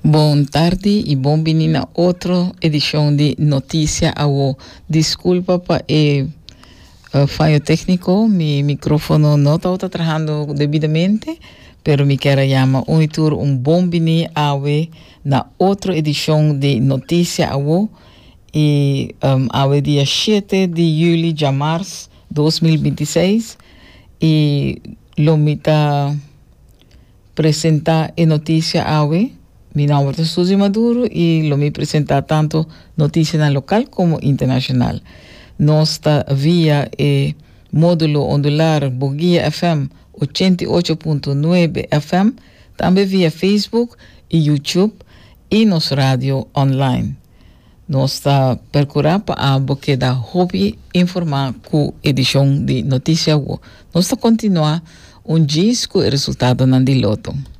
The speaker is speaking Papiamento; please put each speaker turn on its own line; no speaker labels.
Bon tardi y bon bini na otro edicion di Noticia Awo. Disculpa pa e eh, fallo técnico, mi micrófono no tabata trabajando debidamente, pero mi quiero llama un y tur un bon bini awe na otro edicion di Noticia Awo y um, awe dia 7 di juli, ja mars 2026 y lo mi ta Presenta e noticia awe. Mi nomber ta Suzy Maduro y lo mi presenta tanto noticianan local como internacional. Nos ta via e modulo ondular Boguia FM 88.9 FM, tambe via Facebook y YouTube y nos radio online. Nos ta percura pa abo keda hopi informa cu edicion di Noticia Awo. Nos ta continua un djis cu e resultadonan di loto.